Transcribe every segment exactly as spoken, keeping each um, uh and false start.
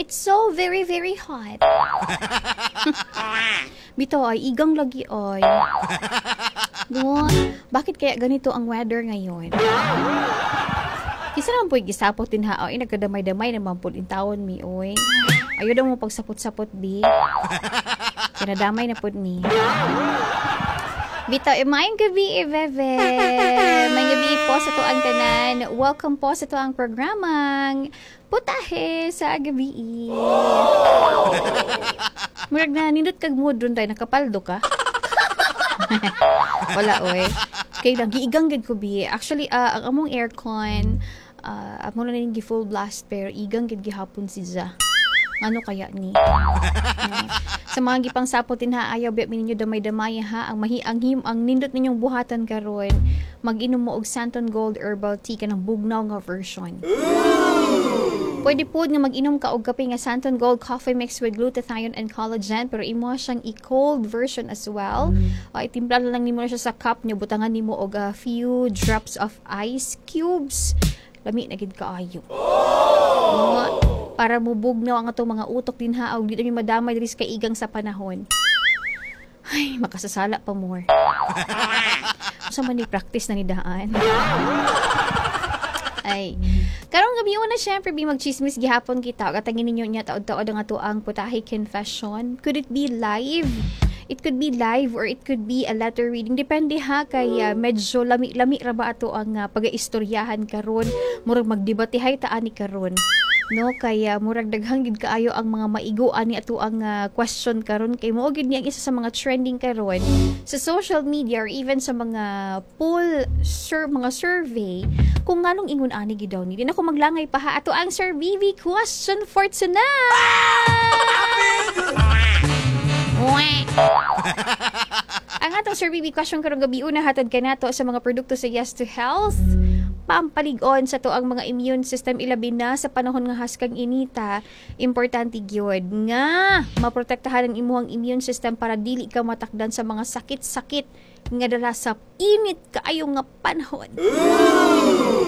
It's so very, very hot. Bitaw ay, igang lagi ay. No, bakit kaya ganito ang weather ngayon? Kinsa naman po gisapot din ha, oy, nagkadamay-damay naman po intawon mi, oy. Ayaw daw mo pagsapot-sapot, bi. Kinadamay na po ni. Bitaw, eh, maayong gabi, eh, bebe. Maayong gabi po sa atuang tanan. Welcome po sa atuang programang Putahe sa Gabi. Murag na, nindot kag mood ron tayo, nakapaldo ka. Wala, oy. Kay lang, giigang gid ko, bi. Actually, ah, ang among aircon, uh, amo na ning full blast, pero igang gid gihapon si Ja. Ano kaya ni? No. Sa mga gipang sapot din ha, ayaw biya ninyo damay-damay ha. Ang mahi ang him ang nindot ninyong buhatan karon, mag-inom mo og Santon Gold Herbal Tea kanang bugnaw nga version. Pwede po nga mag-inom ka og kape nga Santon Gold Coffee Mix with glutathione and collagen pero imo siyang i-cold version as well. Uh, itimpla na lang nimo na siya sa cup niyo butangan nimo og a few drops of ice cubes. Lami na gid kaayo. Oh. Para mubugnaw ang atong mga utok din ha og di na mi madamay diri sa kaigang sa panahon. Ay, makasasala pa more. Usa man ni practice na ni daan. Ay. Karong gabi una syempre bi magchismis gihapon kita. Katangin ninyo niya taod-taod ang atoang putahe confession. Could it be live? It could be live or it could be a letter reading. Depende ha kay uh, medyo lami-lami ra ba ato ang uh, pagaistoryahan karon. Murag magdebatehay ta ani karon. No kay uh, murag daghang gid kaayo ang mga maigo ani ato ang uh, question karon kay mao gid ni ang isa sa mga trending karon sa social media or even sa mga poll sur mga survey kung nganong ingon ani gid daw ni. Di na ko maglangay pa ha ato ang Sir BB question for tonight. Wah. Ang atong Sir BB question karong gabi una hatod kanato sa mga produkto sa Yes to Health. Pampalig-on sa atoang mga immune system ilabi na sa panahon nga haskang inita, importante gyud nga maprotektahan ang imuhang immune system para dili ka matakdan sa mga sakit-sakit nga dala sa init kaayo nga panahon.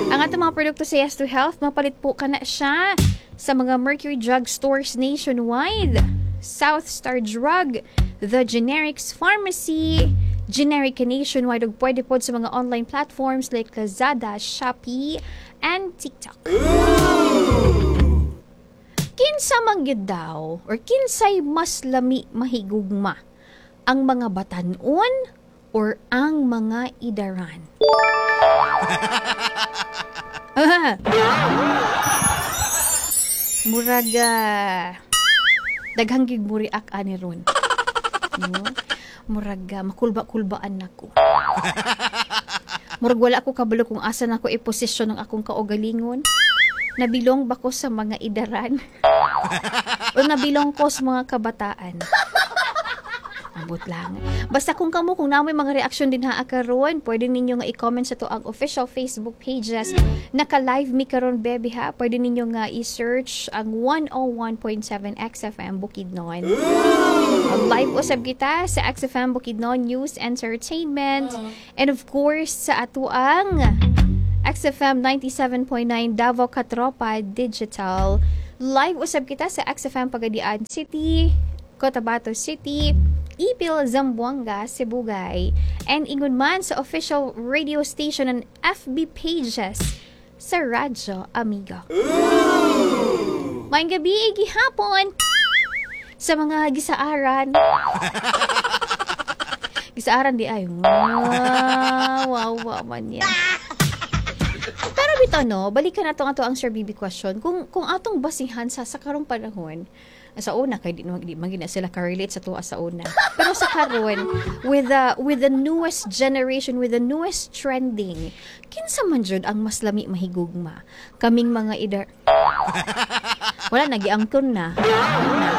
Ang atong mga produkto sa Yes to Health, mapalit po kana siya sa mga Mercury Drug Stores nationwide. South Star Drug, The Generics Pharmacy, Generic Nationwide ug pwede pod sa mga online platforms like Lazada, Shopee, and TikTok. Kinsa man gyud daw or kinsay mas lami mahigugma? Ang mga batanon or ang mga idaran? Ah. Murag ah, daghang gig mo react ani ron. No? Murag ah, makulba-kulbaan nako. Murag wala ako kabalo kung asa nako i-posisyon ang akong kaugalingon. Nabilong ba ko sa mga idaran? o nabilong ko sa mga kabataan? Ambot lang. Basta kung kamo, kung naa moy mga reaksyon din ha karon, pwede ninyo nga i-comment sa atoang official Facebook pages. Naka-live mi karon bebe ha. Pwede ninyo nga i-search ang one oh one point seven X F M Bukidnon. Live usab kita sa X F M Bukidnon News Entertainment and of course sa atoang X F M ninety-seven point nine Davao Katropa Digital. Live usab kita sa X F M Pagadian City, Cotabato City, Ipil, Zamboanga, Sibugay, and ingon man sa official radio station and F B pages sa Radyo Amiga. Maayong gabi, gihapon sa mga gisaaran. Gisaaran di ay. Wow, wow, wow man yan. Pero bitaw no, balikan nato ato ang Sir B B question. Kung kung atong basihan sa sa karong panahon, sa una kay di man di man na sila ka-relate sa tuwa sa una. Pero sa karon with the with the newest generation, with the newest trending, kinsa man jud ang mas lami mahigugma? Kaming mga idar Wala na giangkon na. Wala na.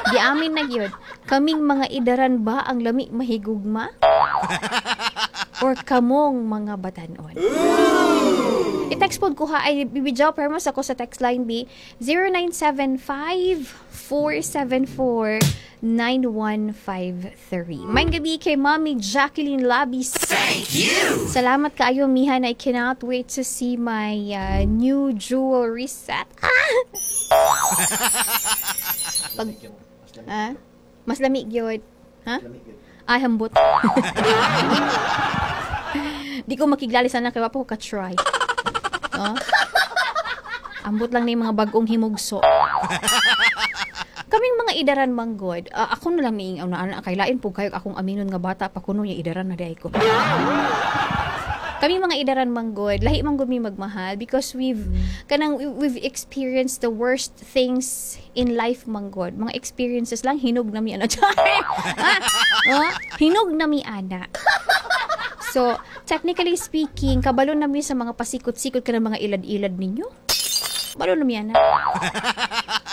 Giamin na gyud. Kaming mga idaran ba ang lami mahigugma? Or kamong mga batanon? I-text pod ko ha, ay bibidyaw pero mas ako sa text line B zero nine seven five, four seven four, nine one five three. Maayong gabii kay Mommy Jacqueline Labis. Thank you. Salamat kaayo, Mihan. I cannot wait to see my uh, new jewelry set. Ah! Pag, ah? Mas lami gyud. Ha? Ay, hambot. Di ko makiglali sana kay wa pa ko ka-try. Oh? Ambot lang na yung mga bagong himugso. Kaming mga idaran manggod, uh, ako na lang miing una ana kay lain po kayo akong aminon nga bata pa kuno niya, idaran na diay ko. Kami mga idaran manggod, lahi manggod mi magmahal because we've kanang we've experienced the worst things in life manggod. Mga experiences lang, hinog na mi ana. Ah, oh, hinog na mi ana. So, technically speaking, kabalo na mi sa mga pasikot-sikot ka ng mga ilad-ilad ninyo. Kabalo na mi ana.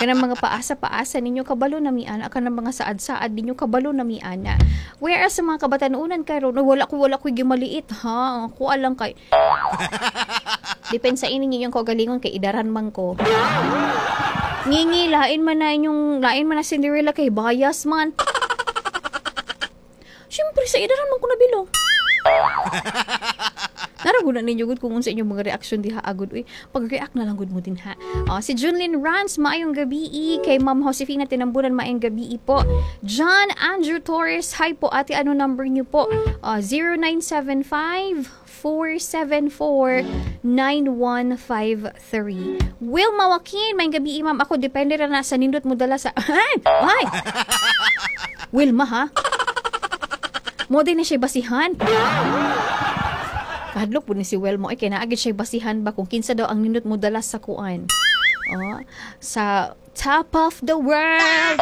Kanang mga paasa-paasa ninyo, kabalo na mi ana. Kanang mga saad-saad ninyo, kabalo na mi ana. Whereas sa mga kabatanunan karon, "Uy, wala ko wala ko gimaliit ha. Ako alang kay." Depende sa ininyo yung kaugalingon kay idaran man ko. Ngingi, lain man na inyong, lain man na Cinderella kay bias man. Siyempre, sa idaran man ko nabilong. Narago na ninyo gud kung unsa inyong mga reaksyon diha agud, uy. Pag-react na lang gud mo din ha. Oh, si Junlin Rans, maayong gabi. Kay Ma'am Josefina Tinambunan, maayong gabi po. John Andrew Torres, hi po ate, ano number niyo po? Uh, zero nine seven five four seven four nine one five three. Wilma Joaquin, maayong gabi, ma'am. Ako, depende ra na sa nindot mo dala sa. Ay! Ay! Wilma ha? Mo din na siya basihan. Kahadlok po ni si Wilma. Ay, kaya naagid siya basihan ba kung kinsa daw ang nindot mo dala sa kuan. Oh, sa top of the world.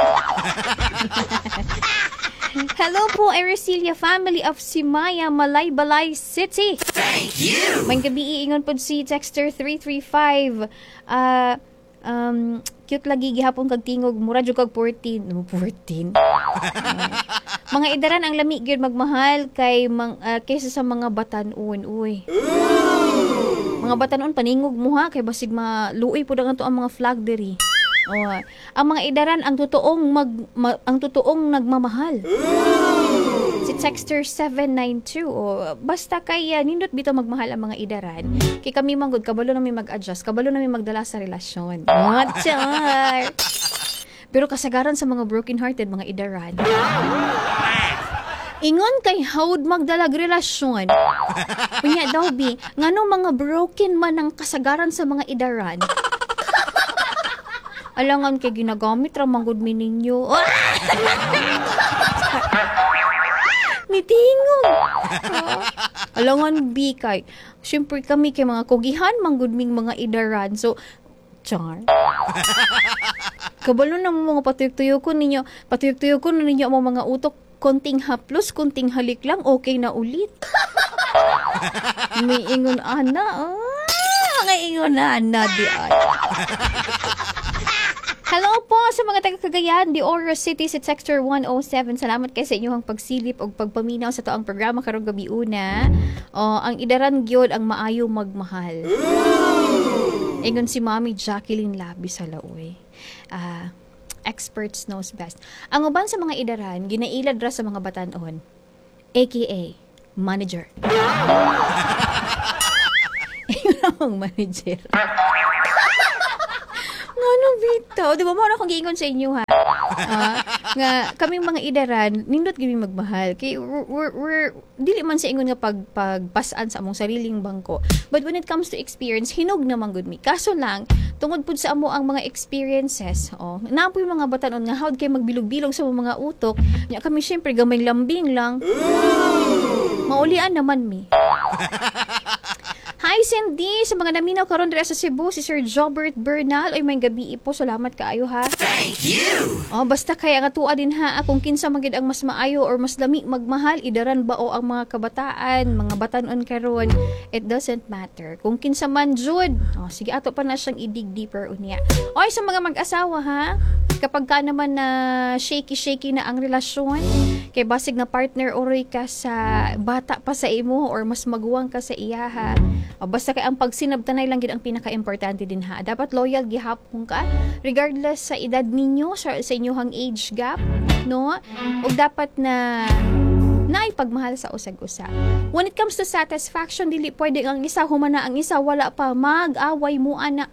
Hello po, Ericilia family of Simaya, Malaybalay City. Thank you. Maayong gabi, iingon po si Texter three three five. Ah, um, cute lagi gihapon kag tingog, mura jud kag fourteen. No, fourteen. Ah, mga idaran ang lami gyud magmahal kay mang, ah, kaysa sa mga batanon, uy. Mga batanon, paningog mo ha kay basig maluoy pud ang ato ang mga flag diri. Oh, ang mga idaran ang totoong mag, ma- ang totoong nagmamahal. Si Texter seven nine two, oh, basta kay uh, nindot bitaw magmahal ang mga idaran. Kay kami manggod, kabalo na mi mag-adjust, kabalo na mi magdala sa relasyon. Char! Pero kasagaran sa mga broken hearted, mga idaran. Ingon kay hawd magdalag relasyon. Unya daw bi, ngano mga broken man ang kasagaran sa mga idaran? Alangan kay ginagamit ra manggod mi ninyo. Ah! Nitingog. Ah. Alangan bi kay syempre kami kay mga kugihan manggod ming mga idaran. So char. Kabalo na mo mga patuyok-tuyok ko ninyo, patuyok-tuyok ko ninyo ang mga utok, konting haplos, konting halik lang, okay na ulit. May ingon ana, ah, mga ingon ana di ay. Hello po sa mga taga Cagayan de Oro City, sa Texter one oh seven. Salamat kay sa inyong pagsilip og pagpaminaw sa toang programa karong gabi una. Oh, ang idaran gyud ang maayo magmahal. Ingon si Mami Jacqueline Labi sa Laoy. Ah, experts knows best. Ang uban sa mga idaran ginailad ra sa mga batanon. A K A manager. Ingon ang manager. Ngano bitaw? Di ba mo na akong giingon sa inyo ha? Ah, nga kaming mga idaran nindot gyud mi magmahal kay we're, we're, we're dili man sa ingon nga pag pagpasan sa among sariling bangko, but when it comes to experience, hinog naman gud mi. Kaso lang tungod pud sa amo ang mga experiences, oh, naa poy mga batanon nga hawd kay magbilog-bilog sa mga utok nya. Kami syempre gamay lambing lang, maulian naman mi. Hi Cindy, sa mga naminaw karon dira sa Cebu, si Sir Jobert Bernal. Oy, maayong gabi po. Salamat kaayo ha. Thank you. Oh, basta kaya nga tuwa din ha kung kinsa man gid ang mas maayo or mas lami magmahal, idaran ba o ang mga kabataan, mga batanon karon, it doesn't matter. Kung kinsa man jud, oh, sige, ato pa na siyang i-dig deeper unya. Oy, sa mga mag-asawa ha, kapag ka naman na shaky-shaky na ang relasyon, Kay basig nga partner uroy ka sa bata pa sa imo or mas maguwang ka sa iyaha. O basta kay ang pagsinabtanay lang gid ang pinaka-importante din ha. Dapat loyal gihapon ka regardless sa edad ninyo, sa, sa inyong age gap, no? Ug dapat na naay pagmahal sa usag-usa. When it comes to satisfaction, dili pwede ang isa humana ang isa wala pa mag-away mo ana.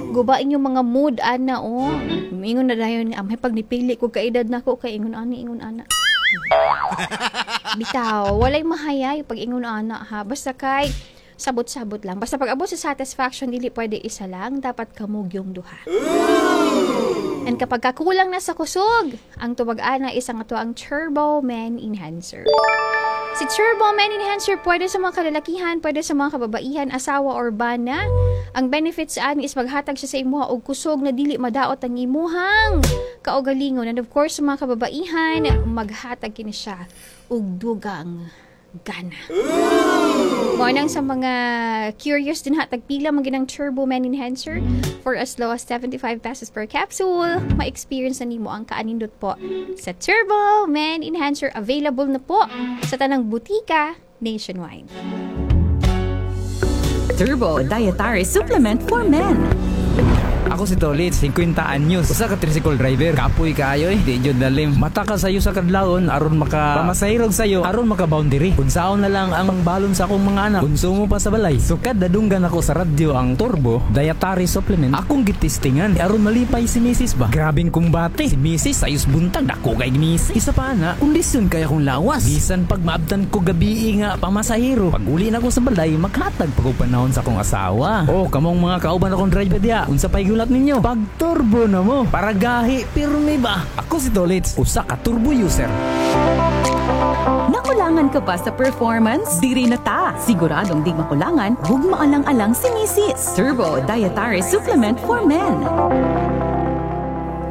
Gubain yung mga mood ana oh. Ingon na dayon nga amay pag nipili ko kaedad nako kay ingon ani ingon ana. Bitaw, walay mahayay pag ingon ana ha. Basta kay sabot-sabot lang. Basta pag abot sa satisfaction dili pwede isa lang, dapat kamo gyung duha. And kapag kakulang na sa kusog, ang tubag ana is ang ato ang Turbo Man Enhancer. Si Turbo Man Enhancer pwede sa mga kalalakihan, pwede sa mga kababaihan, asawa or bana. Ang benefits ani is maghatag siya sa imuha og kusog na dili madaot ang imuhang kaugalingon. And of course, sa mga kababaihan, maghatag kini siya og dugang gana. Mao nang sa mga curious din ha, tagpila man ginang Turbo Man Enhancer for as low as seventy-five pesos per capsule. Ma-experience na nimo ang kaanindot po sa Turbo Man Enhancer. Available na po sa tanang butika nationwide. Turbo Dietary Supplement for Men. Ako si Tolit, singkwenta anyos. Usa ka tricycle driver. Kapoy kaayo eh. Di jud dalim. Mata ka sayo sa kadlawon aron maka pamasayrog sayo aron maka boundary. Unsaon na lang ang pangbalon sa akong mga anak. Konsumo pa sa balay. Sukad nadunggan ako sa radyo ang Turbo Dietary Supplement. Akong gitistingan aron malipay si Missus ba. Grabing kumbate. Si Missus ayos buntag dako kay Missus. Isa pa na, kondisyon kay akong lawas. Bisan pag maabtan ko gabi nga pamasahero. Pag uli na ko sa balay, maghatag pag panahon sa akong asawa. Oh, kamong mga kauban akong driver diha. Unsa pa'y gulat ninyo? Pag turbo na mo. Para gahi pirmi ba? Ako si Tolits, usa ka turbo user. Nakulangan ka pa sa performance? Diri na ta! Siguradong di makulangan, ug maalang-alang si Missus Turbo Dietary Supplement for Men.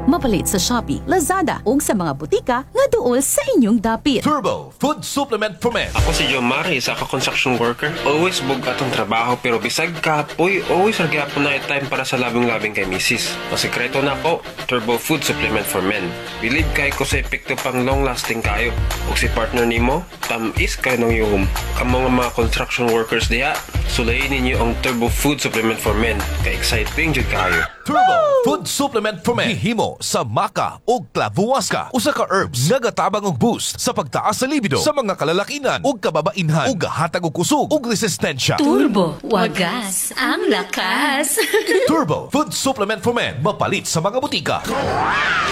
Mapalit sa Shopee, Lazada ug sa mga butika nga duol sa inyong dapit. Turbo Food Supplement for Men. Ako si John Mari, isa ka construction worker. Always bug-at ang trabaho pero bisag kapoy, always ra gyapon na time para sa labing-labing kay misis. Masikreto na ako, Turbo Food Supplement for Men. Believe kay ko sa epekto pang long lasting kayo. Ug si partner nimo, tam-is kayo ng yuhom. Kamo nga mga construction workers diha, sulayin ninyo ang Turbo Food Supplement for Men. Kay exciting jud kayo. Turbo Food Supplement for Men. Gihimo sa maca ug clavuaska. Usa ka herbs nagatabang og boost sa pagtaas sa libido sa mga kalalakinan ug kababainhan ug gahatag og kusog ug resistensya. Turbo, wagas ang lakas. Turbo Food Supplement for Men. Mapalit sa mga butika.